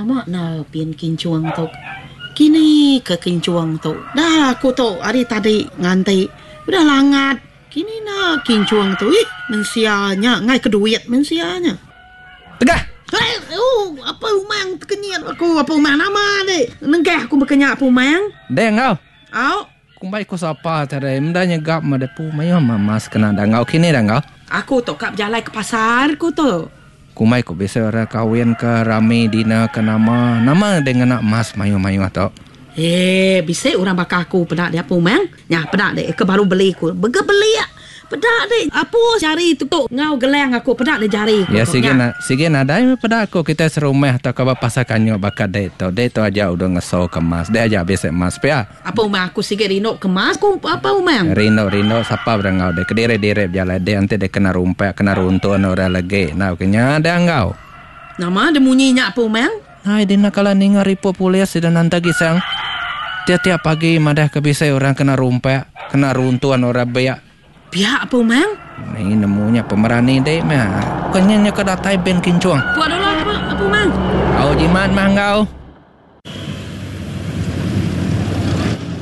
Lama enda pin kinchung tu. Kini ke kinchung tu. Dah aku tu ari tadi nganti. Udah langat. Kini enda kinchung tu. Ih mensia nya enggai ke duit mensia nya. Tegah. Hei oh apai umang tekenyit aku apai umang nama dek nengah aku baka nya apai umang. Deh enggau. Au. Kumbai ku sapa tadi meda nyegap meh depu mayuh meh mas kena danggau kini danggau. Aku tu ka bejalai ke pasar ku tu. Kumbai ku bisi orang kawin ke rami dinner ke nama nama deh ngena mas mayuh mayuh tu. Hee bisi orang baka aku peda dia apu meng. Nya peda dek ke baru beli ku bege belik. Peda dek apu jari tu enggau gelang aku peda dek jari ku Ya sigi na sigi nadai meh peda aku kitai serumah tauka ba pasar kanyuk baka dek tu. Dek tu aja udah ngeso ke emas. Dek aja bisi emas pia. Apa umang aku sigi rindu ke emas ku apa umang. Rindu rindu sapa beda enggau dek kediri diri bejalai dek enti dek kena rumpak kena runtun orang legi enda ke nya dek enggau. Nama dek munyi nya apa umang. Ai dina kala ninga riput polis sida nanta gisang. Tiap-tiap pagi madah ke bisi orang kena rumpak, kena runtun orang biak. Pia apa umang? Ni nemu nya pemerani dik meh. Bukan nya nya ke datai bin kinchung. Pua dulu apa apa umang? Au jimat mah enggau.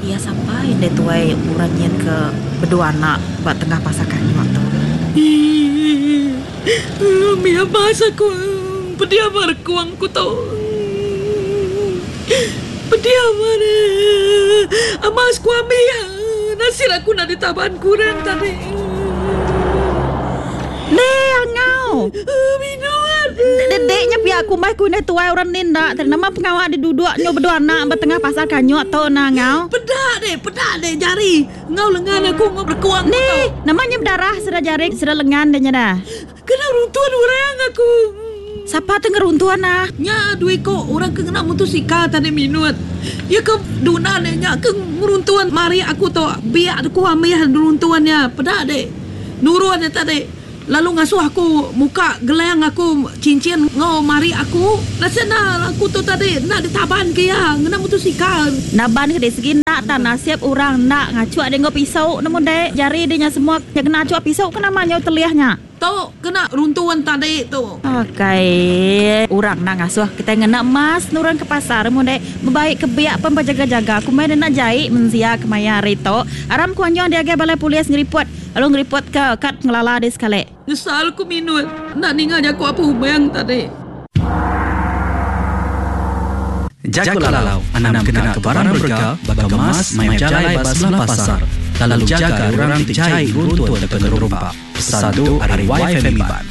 Iya sapa indai tuai orang nyin ke bedua anak ba tengah pasar kanyuk tu. Mih abas aku pedih ba rekung ku tu. Pedih amat abas ku ambi nasit aku enda ditaban ku orang tadi. Leh angau. Dedek nya pia kumbai ku indai tuai orang ni enda tadi nama pengawa diduduk nyu bedua anak ba tengah pasar kanyuk tu nah angau. Peda deh peda deh jari. Enggau lengan aku enggau berekuang ku tu. Nama nya bedarah sida jari sida lengan deh nya dah. Kena runtun orang aku. Sapa tu ngeruntun ah? Nya dua iko orang ke ngena mutosikal tadi minut. Iya ke duna deh nya ke ngeruntun mari aku tu biak ku amih ngeruntun iya peda deh nurun iya tadi. Lalu ngasuh aku muka gelang aku cincin enggau mari aku. Nasib enda aku tu tadi enda ditaban ke iya ngena mutosikal. Naban ke dek segi enda tang nasib orang enda ngachuk dek enggau pisau nemu dek jari dek nya semua nya kena achuk pisau ke nama nyau telih nya. Tu kena runtun tadi tu. Akai orang enda ngasuh kitai ngena emas nurun ke pasar nemu dek bebaik ke biak pen bejaga jaga kumbai dek enda jai mensia kemaya hari tu. Aram ku anjung diagai balai polis ngeripot. Lalu ngeripotka kad pengelala dih sekali. Nyesal ku minut enda ninga jaku Apu Umang tadi. Jaku lalau, Anang kena ke barang berega baka emas maya bejalai ba sebelah pasar lalu jaga ari orang ti jai ngeruntun tauka ngerumpak. Pesan tu ari Y Family Iban.